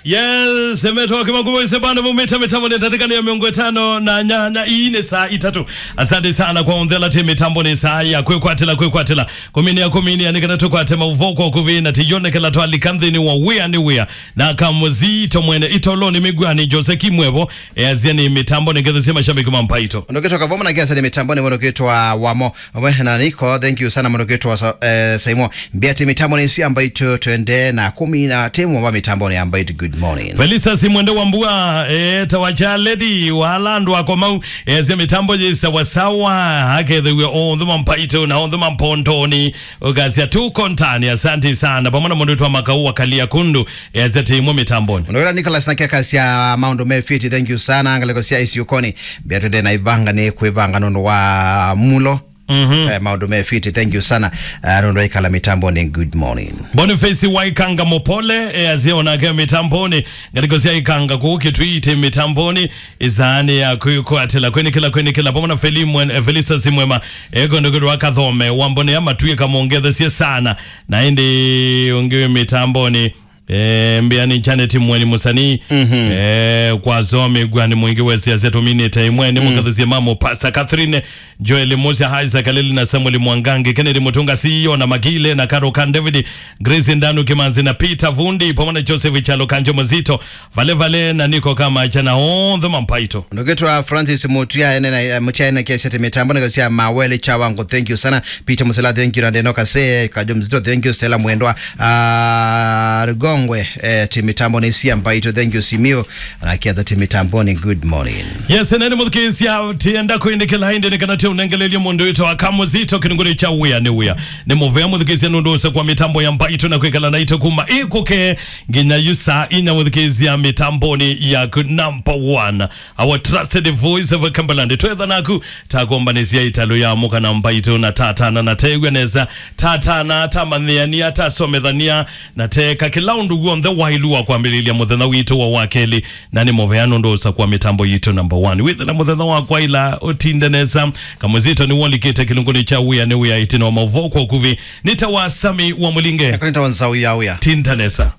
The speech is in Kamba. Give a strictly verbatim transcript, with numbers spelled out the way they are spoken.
Yes, emetwa kimakubo ise bana mumita mitambo ni tatika ni ya miongo itano na nyanya. Ii ni saa itatu. Asante sana kwa onthe ala ti mitambo ni saa ya kwikwatila, kwikwatila. Kuminia, kuminia, ni kana tukwate mauvoo kwa kuvina tiyonekela twalika nthini wa wia ni wia. Na kamuzito mwene itolo ni migwani Jose Kimwevo, eazia ni mitambo ni ngethe sia mashabiki ma Mpaito. Ndokitwa Kavoma na kiasa ni mitambo ni mwene kitwa wamo. Vamwe na Niko, thank you sana mũndũ kwĩtwa Sa-, eh, Saimo. Mbĩa ti mitambo ni sia Mpaito, twende na kumi na timu wa mitambo ni ya Mpaito. Good morning. Felisa Simwende wa Mbua, eh, tawacha lady, wala andũ ako mau, eh, sia mitambo ji sawasawa, akethewia onthe ma Mpaito na onthe ma Mpondoni, ukasia tuko ntani, asante sana. Pamwe na mũndũ wĩtwa Makau wa Kalia Kundu, eh, sia timu mitamboni. Mũndũ wĩla Nicholas na keka sia maũndũ me fiti, thank you sana, ngaleko sia isi ukoni. Mbĩa twende na ivanga ni kwĩvanga nũndũ wa mulo. Mhm. Eh, maũndũ me fiti, thank you sana. Eh, nũndũ aikala mitamboni, good morning. Boniface Waikanga Mopole, eh, azie onake mitamboni, ngalĩko sya Ikanga kũu Kĩtwii ti mitamboni, isaani ya kwĩkwatĩla, kwĩnĩkĩla, kwĩnĩkĩla, pamwe na Feli Mwen-, eh, Felisa Simwema, eh, kũndũ kwĩtwa Kathome, Wambone ya Matwĩka mũngethesie sana, na ĩndĩ ũngĩ wĩ mitamboni, Eh, mbĩa ni Janet Mweni Musani. Mhm. Eh, kwa zomi gwani mwingi wesi asia tuminite imwe ni mukathisia mamo Pastor Catherine, Joel Musia, Isaac Alili na Samuel Mwangangi, Kennedy Mutunga, C E O na Magile na Karo Kan David, Grace Ndanu Kimanzi na Peter Vundi, pamwe na Joseph Chalo Kanjo Muzito, vale vale na Niko kama jana onthe ma Mpaito. Ndokitwa Francis Mutia ene na, eh, Mutia ene kiasi ati mitambo na kasia mawele cha wangu. Thank you sana. Peter Musela, thank you. Na Deno Kase, Kajo Mzito, thank you. Stella Mwendwa, ah, Rugongwe, eh, ti mitambo ni sia Mpaito, thank you. Simio, na kiatha ti mitambo ni good morning. Yes, nani muthikisia, tienda kwĩnĩkĩla ĩndĩ ni kana ti unengelelie mũndũ wĩtwa Kamuzito kĩnungũrĩ cha wia ni wia. Ni muvea muthikisia nũndũ ũsa kwa mitambo ya Mpaito na kwĩkala naito kuma ikuke nginya yu saa inya muthikisia mitamboni ya good number one. Our trusted voice of Cumberland. Twetha naku, takombanĩsya ĩtalũ ya mũka na Mpaito na tatana na tew'a nesa. Tatana, tamanyĩania, tasomethania, na teka kĩla ũndũ w'onthe wailu wa kwambĩlĩlya mũthenya witũ wa wakelĩ. Na nĩ mũvea nũndũ ũsa kwa mĩtambo yitũ number one. Wĩthĩla mũthenya wa kwaila ũtinde nesa. Kamuzito nĩ wolikĩte kĩlungunĩ kya wĩa nĩ wĩa ĩtina wa maũvoo kwa ũkuvĩ. Nĩ ta wa Sami wa Mũlinge. Nĩtawa Nzau ya Wĩa. Tinda nesa.